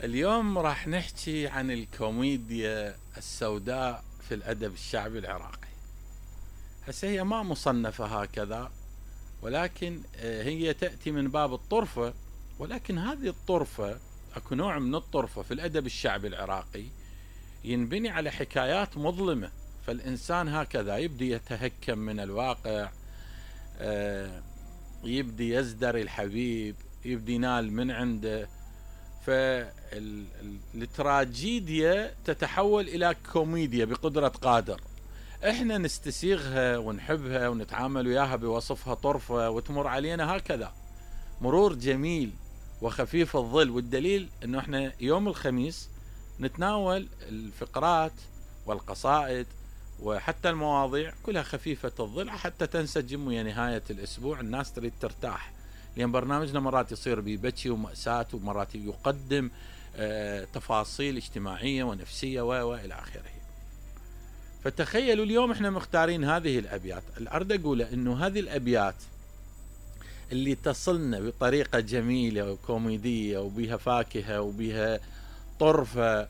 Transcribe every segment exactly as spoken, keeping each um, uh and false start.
اليوم راح نحكي عن الكوميديا السوداء في الأدب الشعبي العراقي. هسه هي ما مصنفة هكذا، ولكن هي تأتي من باب الطرفة، ولكن هذه الطرفة اكو نوع من الطرفة في الأدب الشعبي العراقي ينبني على حكايات مظلمة، فالإنسان هكذا يبدي يتهكم من الواقع، يبدي يزدر الحبيب، يبدي ينال من عنده، فالتراجيديا تتحول إلى كوميديا بقدرة قادر. احنا نستسيغها ونحبها ونتعامل وياها بوصفها طرفة وتمر علينا هكذا مرور جميل وخفيف الظل، والدليل انه احنا يوم الخميس نتناول الفقرات والقصائد وحتى المواضيع كلها خفيفة الظل حتى تنسجم ويا نهاية الاسبوع. الناس تريد ترتاح، لأن برنامجنا مرات يصير ببكي ومأساة، ومرات يقدم آه تفاصيل اجتماعية ونفسية وإلى آخره. فتخيلوا اليوم احنا مختارين هذه الأبيات. الأرد أقول إنه هذه الأبيات اللي تصلنا بطريقة جميلة وكوميدية وبها فاكهة وبها طرفة،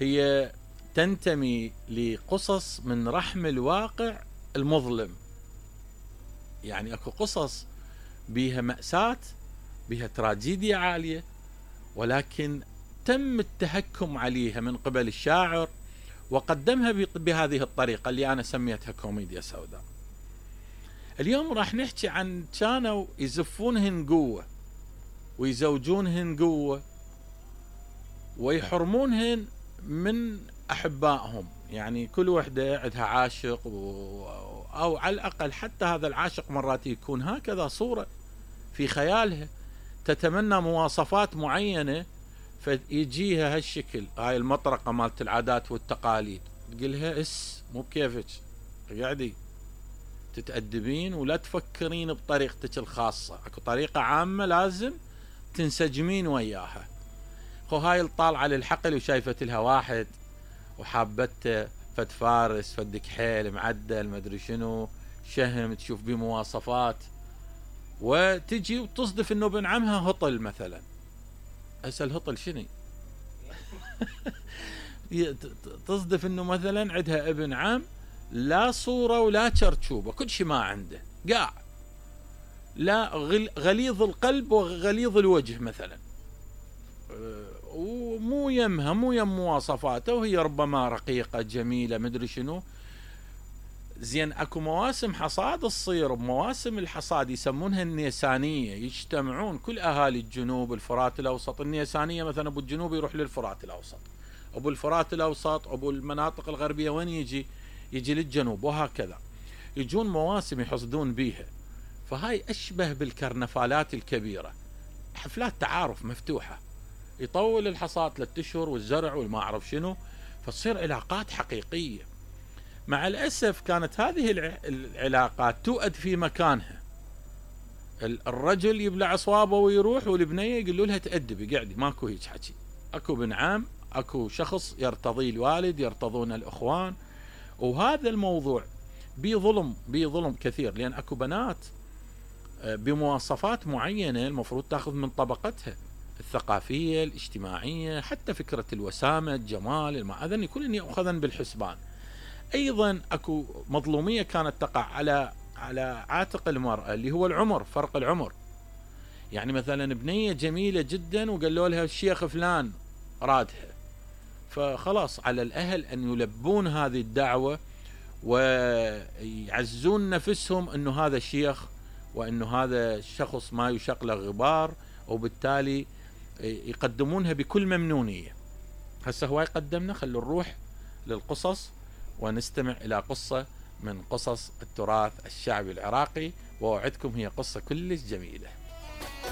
هي تنتمي لقصص من رحم الواقع المظلم. يعني اكو قصص بها مأساة، بها تراجيديا عالية، ولكن تم التهكم عليها من قبل الشاعر وقدمها بهذه الطريقة اللي أنا سميتها كوميديا سوداء. اليوم راح نحكي عن كانوا يزفونهن قوة ويزوجونهن قوة ويحرمونهن من أحبائهم. يعني كل وحدة عندها عاشق و... أو على الأقل حتى هذا العاشق مرات يكون هكذا صورة في خيالها، تتمنى مواصفات معينة فيجيها هالشكل، هاي المطرقة مالت العادات والتقاليد، تقولها اس مو بكيفك، قاعدي تتأدبين ولا تفكرين بطريقتك الخاصة، اكو طريقة عامة لازم تنسجمين وياها. خو هاي الطالعة للحقل وشايفت لها واحد وحابته فد فارس فد كحيل معدل مدري شنو شهم، تشوف بيه مواصفات، وتجي وتصدف انه ابن عمها هطل مثلا. هسه الهطل شنو؟ تصدف انه مثلا عندها ابن عم لا صورة ولا شرشوبة، كل شيء ما عنده، قاع لا غليظ القلب وغليظ الوجه مثلا، ومو يمها مو يم مواصفاته، وهي ربما رقيقة جميلة مدري شنو. زين اكو مواسم حصاد تصير، بمواسم الحصاد يسمونها النيسانية، يجتمعون كل اهالي الجنوب الفرات الاوسط. النيسانية مثلا ابو الجنوب يروح للفرات الاوسط، ابو الفرات الاوسط ابو المناطق الغربية وين يجي؟ يجي للجنوب، وهكذا يجون مواسم يحصدون بيها. فهاي اشبه بالكرنفالات الكبيرة، حفلات تعارف مفتوحة، يطول الحصاد ثلاثة اشهر والزرع والما اعرف شنو، فتصير علاقات حقيقية. مع الأسف كانت هذه العلاقات تؤد في مكانها، الرجل يبلع صوابه ويروح، والبنية يقولوا لها تأدبي قاعدي، ماكو هيك حكي. اكو بن عم، اكو شخص يرتضي الوالد، يرتضون الاخوان، وهذا الموضوع بي ظلم بي ظلم كثير، لان اكو بنات بمواصفات معينة المفروض تاخذ من طبقتها الثقافية الاجتماعية، حتى فكرة الوسامة الجمال المعادن كلن يأخذن بالحسبان. ايضا اكو مظلومية كانت تقع على على عاتق المرأة اللي هو العمر، فرق العمر. يعني مثلا بنية جميلة جدا وقالوا لها الشيخ فلان رادها، فخلاص على الاهل ان يلبون هذه الدعوة ويعزون نفسهم انه هذا الشيخ وانه هذا الشخص ما يشق له غبار، وبالتالي يقدمونها بكل ممنونية. هسه هو يقدمنا، خلوا نروح للقصص ونستمع إلى قصة من قصص التراث الشعبي العراقي، وأوعدكم هي قصة كلش جميلة.